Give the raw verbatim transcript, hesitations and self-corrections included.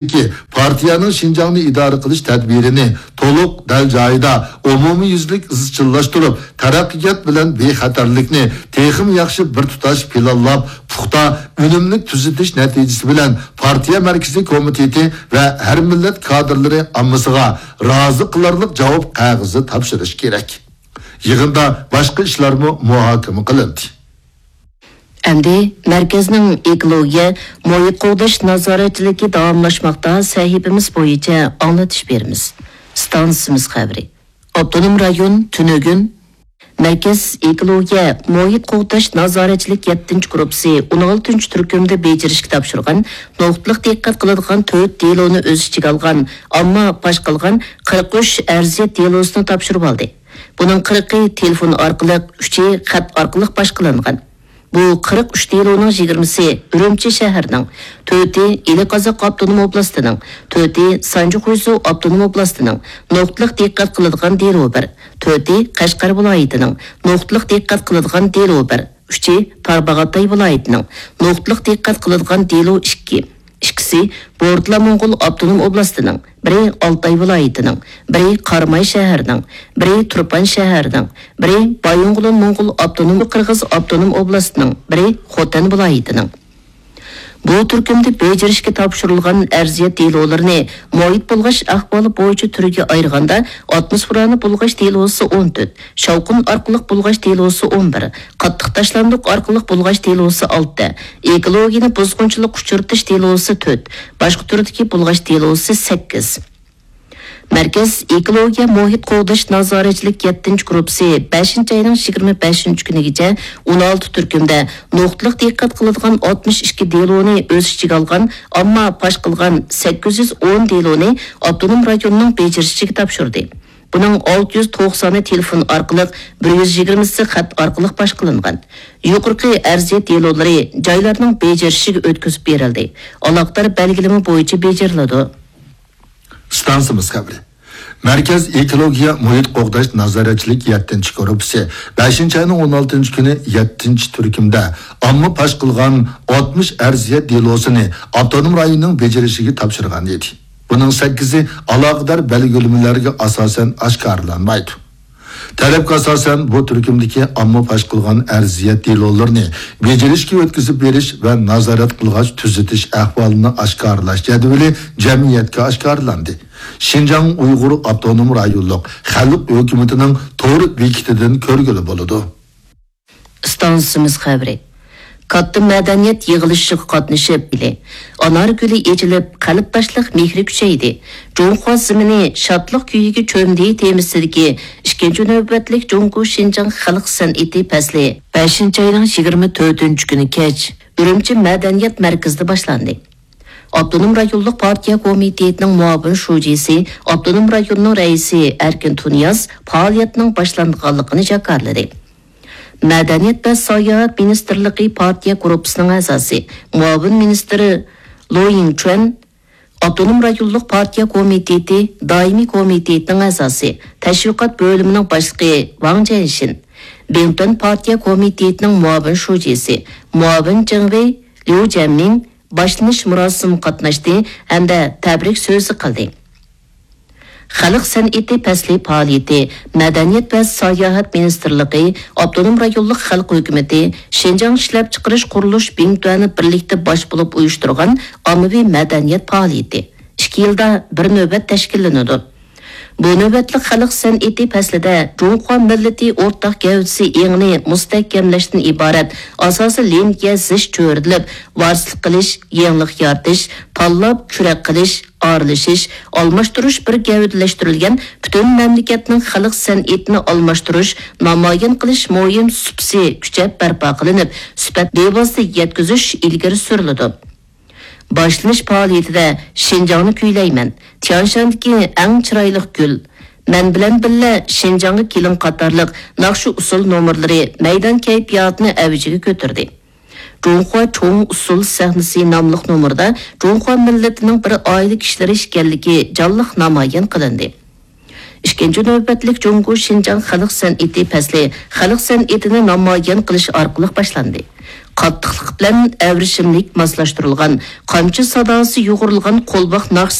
پارتىيەنىڭ شىنجاڭنى ئىدارە قىلىش تەدبىرىنى تولۇق، دەل جايىدا، ئومۇميۈزلۈك ئىزچىللاشتۇرۇپ، تەرەققىيات بىلەن بىخەتەرلىكنى تېخىمۇ ياخشى بىر تۇتاش پىلانلاپ، پۇختا، ئۈنۈملۈك تۈزىتىش نەتىجىسى بىلەن پارتىيە مەركىزىي كومىتېتى ۋە ھەر مىللەت كادىرلىرى ئاممىسىغا رازى قىلارلىق جاۋاب قەغىزى تاپشۇرۇش كېرەك. يىغىندا باشقا ئىشلارمۇ مۇھاكىمە قىلىندى. ئەمدى مەركەزنىڭ ئېكولوگىيە، مۇھىت قوغداش نازارەتچىلىكى داۋاملاشماقتا سەھىپىمىز بويىچە ئاڭلىتىش بېرىمىز. ئىستانسىمىز خەۋىرى. ئاپتونوم رايون، تۈنۈگۈن. مەركەز ئېكولوگىيە، مۇھىت قوغداش نازارەتچىلىك يەتتىنچى گۇرۇپپىسى ئون ئالتىنچى تۈركۈمدە بېجىرىشكە تاپشۇرغان، نۇقتىلىق دىققەت قىلىدىغان تۆت دېلونى ئۆز ئىچىگە ئالغان، ئامما پاش قىلغان قىرىق ئۈچ ئەرزىيەت دېلوسىنى تاپشۇرۇۋالدى. بۇنىڭ قىرىقى تېلېفون ئارقىلىق، ئۈچى خەت ئارقىلىق پاش قىلىنغان. بۇ قىرىق ئۈچ دېلونىڭ يىگىرمىسى ئۈرۈمچى شەھىرىنىڭ، تۆتى ئىلى قازاق ئاپتونوم ئوبلاستىنىڭ، تۆتى سانجى خۇيزۇ ئاپتونوم ئوبلاستىنىڭ، نۇقتىلىق دىققەت قىلىدىغان دېلو بىر، تۆتى قەشقەر ۋىلايىتىنىڭ، نۇقتىلىق دىققەت قىلىدىغان دېلو بىر، ئۈچى تارباغاتاي ۋىلايىتىنىڭ، نۇقتىلىق دىققەت قىلىدىغان دېلو ئىككى، ئىككىسى بورتالا موڭغۇل ئاپتونوم ئوبلاستىنىڭ، بىرى ئالتاي ۋىلايىتىنىڭ، بىرى قاراماي شەھىرىنىڭ، بىرى تۇرپان شەھىرىنىڭ، بىرى بايىنغولىن موڭغۇل ئاپتونوم، قىرغىز ئاپتونوم ئوبلاستىنىڭ، بىرى خوتەن ۋىلايىتىنىڭ. بۇ تۈركۈمدە بېجىرىشكە تاپشۇرۇلغان ئەرزىيەت دېلولىرىنى مۇھىت بۇلغاش ئەھۋالى بويىچە تۈرگە ئايرىغاندا، ئاتموسفېرانى بۇلغاش دېلوسى ئون تۆت، شاۋقۇن ئارقىلىق بۇلغاش دېلوسى ئون بىر، قاتتىق تاشلاندۇق ئارقىلىق بۇلغاش دېلوسى ئالتە، ئېكولوگىيەنى بۇزغۇنچىلىققا ئۇچرىتىش دېلوسى تۆت، باشقا تۈردىكى بۇلغاش دېلوسى سەككىز. مەركەز ئېكولوگىيە مۇھىت قوغداش نازارەتچىلىك يەتتىنچى گۇرۇپپىسى بەشىنچى ئاينىڭ يىگىرمە بەشىنچى كۈنىگىچە ئون ئالتە تۈركۈمدە نۇقتىلىق دىققەت قىلىدىغان ئاتمىش ئىككى دېلونى ئۆز ئىچىگە ئالغان، ئامما پاش قىلغان سەككىز يۈز ئون دېلونى ئاپتونوم رايوننىڭ بېجىرىشىگە تاپشۇردى. بۇنىڭ ئالتە يۈز توقسانى تېلېفون ئارقىلىق، بىر يۈز يىگىرمىسى خەت ئارقىلىق پاش قىلىنغان. يۇقىرىقى ئەرزىيەت دېلولىرى جايلارنىڭ بېجىرىشىگە ئۆتكۈزۈپ بېرىلدى. ئالاقىدار بەلگىلىمە بويىچە بېجىرىلىدۇ. ئىستانسىمىز خەۋىرى. مەركەز ئېكولوگىيە مۇھىت قوغداش نازارەتچىلىك يەتتىنچى گۇرۇپپىسى بەشىنچى ئاينىڭ ئون ئالتىنچى كۈنى يەتتىنچى تۈركۈمدە ئامما پاش قىلغان ئاتمىش ئەرزىيەت دېلوسىنى ئاپتونوم رايوننىڭ بېجىرىشىگە تاپشۇرغان ئىدى. بۇنىڭ سەككىزى ئالاقىدار بەلگىلىمىلەرگە ئاساسەن ئاشكارىلانمايدۇ. تەلەپكە ئاساسەن، بۇ تۈركۈمدىكى ئامما پاش قىلغان ئەرزىيەت دېلولىرىنى بېجىرىشكە ئۆتكۈزۈپ بېرىش ۋە نازارەت قىلغاچ تۈزىتىش ئەھۋالىنى ئاشكارىلاش جەدۋىلى جەمئىيەتكە ئاشكارىلاندى. شىنجاڭ ئۇيغۇر ئاپتونوم رايونلۇق خەلق ھۆكۈمىتىنىڭ تور بېكىتىدىن كۆرگىلى بولىدۇ. ئىستانسىمىز خەۋىرى. كاتتا مەدەنىيەت يىغىلىشىغا قاتنىشىپ، ئانار گۈلى ئېچىلىپ، قەلبداشلىق مېھرى كۈچەيدى. جۇڭخۇا زېمىنى شادلىق كۈيىگە چۆمدى تېمىسىدىكى ئىككىنچى نۆۋەتلىك جۇڭگو شىنجاڭ خەلق سەنئىتى پەسلى بەشىنچى ئاينىڭ يىگىرمە تۆتىنچى كۈنى كەچ ئۈرۈمچى مەدەنىيەت مەركىزىدە باشلاندى. ئاپتونوم رايونلۇق پارتىيە كومىتېتىنىڭ مۇئاۋىن شۇجىسى، ئاپتونوم رايوننىڭ رەئىسى ئەركىن تۇنىياز پائالىيەتنىڭ باشلانغانلىقىنى جاكارلىدى. مەدەنىيەت ۋە ساياھەت مىنىستىرلىقى پارتىيە گۇرۇپپىسىنىڭ ئەزاسى، مۇئاۋىن مىنىستىرى لو يىڭچۈەن، ئاپتونوم رايونلۇق پارتىيە كومىتېتى دائىمىي كومىتېتىنىڭ ئەزاسى، تەشۋىقات بۆلۈمىنىڭ باشلىقى ۋاڭ جيەنشىن، بىڭتۈەن پارتىيە كومىتېتىنىڭ مۇئاۋىن شۇجىسى، مۇئاۋىن جېڭ ۋېي، ليۇ جيەنمىڭ باشلىنىش مۇراسىمىغا قاتناشتى ھەمدە تەبرىك سۆزى قىلدى. خەلق سەنئىتى پەسلى پائالىيىتى مەدەنىيەت ۋە ساياھەت مىنىستىرلىقى، ئاپتونوم رايونلۇق خەلق ھۆكۈمىتى، شىنجاڭ ئىشلەپچىقىرىش قۇرۇلۇش بىڭتۈەنى بىرلىكتە باش بولۇپ ئۇيۇشتۇرغان ئاممىۋى مەدەنىيەت پائالىيىتى ئىككى يىلدا بىر نۆۋەت تەشكىللىنىدۇ. بۇ نۆۋەتلىك خەلق سەنئىتى پەسلىدە جۇڭخۇا مىللىتى ئورتاق گەۋدىسى ئېڭىنى مۇستەھكەملەشتىن ئىبارەت ئاساسىي لىنىيە زىچ چۆرىدىلىپ، ۋارىسلىق قىلىش، يېڭىلىق يارىتىش، تاللاپ، كۈرەك قىلىش، ئارىلىشىش، ئالماشتۇرۇش بىر گەۋدىلەشتۈرۈلگەن پۈتۈن مەملىكەتنىڭ خەلق سەنئىتىنى ئالماشتۇرۇش، نامايان قىلىش مۇھىم سۇپىسى كۈچەپ بەرپا قىلىنىپ، سۈپەت لېۋاسىدا يەتكۈزۈش ئىلگىرى سۈرۈلىدۇ. باشلىنىش پائالىيىتىدە شىنجاڭنى كۈيلەيمەن، تيانشاندىكى ئەڭ چىرايلىق گۈل، مەن بىلەن بىللە شىنجاڭغا كېلىڭ قاتارلىق ناخشا-ئۇسسۇل نومۇرلىرى مەيدان كەيپىياتىنى ئەۋجىگە كۆتۈردى. جۇڭخۇا چوڭ ئۇسسۇل سەھنىسى ناملىق نومۇردا جۇڭخۇا مىللىتىنىڭ بىر ئائىلە كىشىلىرى ئىكەنلىكى جانلىق نامايان قىلىندى. ئىككىنچى نۆۋەتلىك جۇڭگو شىنجاڭ خەلق سەنئىتى پەسلى خەلق سەنئىتىنى نامايان قىلىش ئارقىلىق باشلاندى. قاتتىقلىق بىلەن ئەۋرىشىملىك ماسلاشتۇرۇلغان، قامچا ساداسى يۇغۇرۇلغان قولباق ناخشىسى